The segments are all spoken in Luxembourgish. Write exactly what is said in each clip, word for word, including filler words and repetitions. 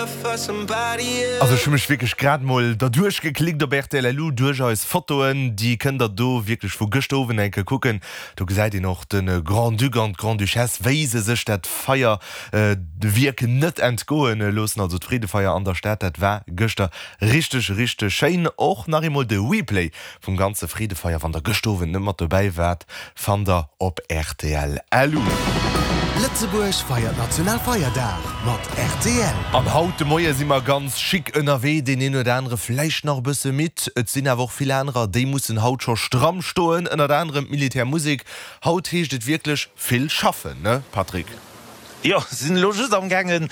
Also ech hu mech wierklech grad mol derduerch geklickt op rtl lu duerch eis Fotoen, déi kënnt der do wierklech vu gëschter Owend eng Kéier kucken. Do gesäit een och de Grand-Duc an d'Grande-Duchesse, wéi se sech dat Feierwierk net entgoe loossen. Also d'Freedefeier an der Stad, dat war gëschter richteg, richteg schéin. Och nach eemol de Replay vum ganze Freedefeier, wann der gëschter Owend net mat dobäi waart, fannt der op rtl lu. Lëtzebuerg feiert Nationalfeierdag mat rtl. An haut de Moie si mer ganz chic ënnerwee, deen een oder anere vläicht nach e bësse midd. Et sinn awer och vill anerer, déi mussen haut scho stramm stoen, ënnert anerem d'Militärmusek. Haut heescht et wierklech vill schaffen, ne Patrick? Jo, sinn elo just am gaangen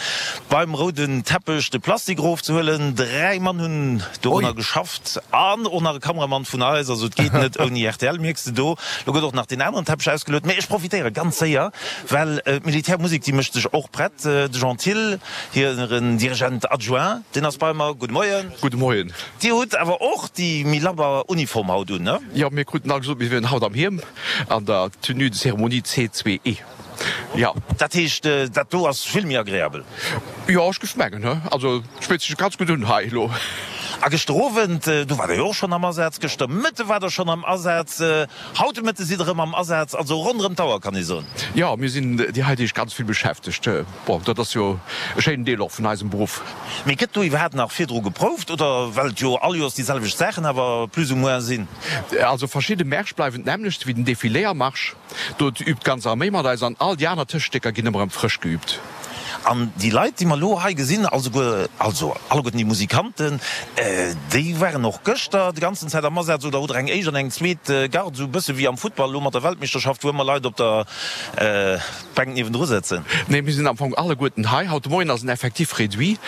beim rouden Teppech de Plastik erofzehuelen. Dräi Mann hunn dorunner geschafft an och nach e Kameramann vun eis. Also et geet net ouni rtl, mierks de do. Lo gëtt och nach deen aneren Teppech ausgeluet. Mee ech profitéiere ganz séier, well d'Militärmusek déi mécht sech och prett. De Jean Thill, hiren Dirigent adjoint, deen ass bei mer. Gudde Moien. Gudde Moien. Dir hutt awer och déi méi labber Uniform haut un, ne? Jo, mir kruten all gesot, mir wieren haut am Hiem an der Tenue de cérémonie C zwee E. Jo. Dat heescht, dat do ass vill méi agreabel? Jo, ech géif mengen, he. Also, et spillt sech ganz gutt un hei elo. A gëschter Owend, do waart Der jo och schonn am Asaz, gëschter Mëtte waart Der schonn am Asaz, haut de Mëtte sidd Der erëm am Asaz, also ronderëm d'Auer kann ee soen. Jo, mir sinn déi hei Deeg ganz vill beschäftegt. Bon, dat ass jo e schéinen Deel och vun eisem Beruff. Mee gëtt do iwwerhaapt nach virdru geprouft oder, well et jo all Joers déi selwecht Saachen awer plus ou moins sinn? Also verschidde Märsch bleiwen d'nämmlecht, wéi den Défilé am Marsch. Do übt d'ganz Arméi mat eis an all déi aner Tëschestécker ginn ëmmer erëm frësch geübt. An déi Leit, déi mer elo hei gesinn, alleguer, also alleguerten déi Musikanten, déi waren och gëschter déi ganzen Zäit am Asaz oder hutt Der eng éischt an eng zweet Garde, esou e bësse wéi am Futtball elo mat der Weltmeeschterschaft, wou ëmmer Leit op der Bänk niewendru sëtzen? Nee, mir sinn am Fong alleguerten hei. Haut de Moien ass en Effectif réduit.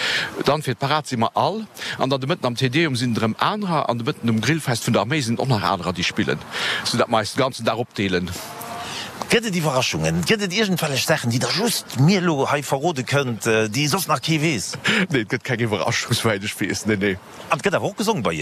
Dann fir d'Parad si mer all. An dann de Mëtten am Te Deum sinn et erëm anerer. An de Mëtten um Grillfest vun der Arméi sinn et och nach anerer, déi spillen, soudatt mer eis de ganzen Dag opdeelen. Gëtt et Iwwerraschungen? Gëtt et iergendwellech Saachen, déi Der just mir elo hei verrode kënnt, déi soss nach kee weess? Nee, et gëtt keng Iwwerraschung, souwäit ech weess. Nee, nee. An et gëtt awer och gesong bei Iech?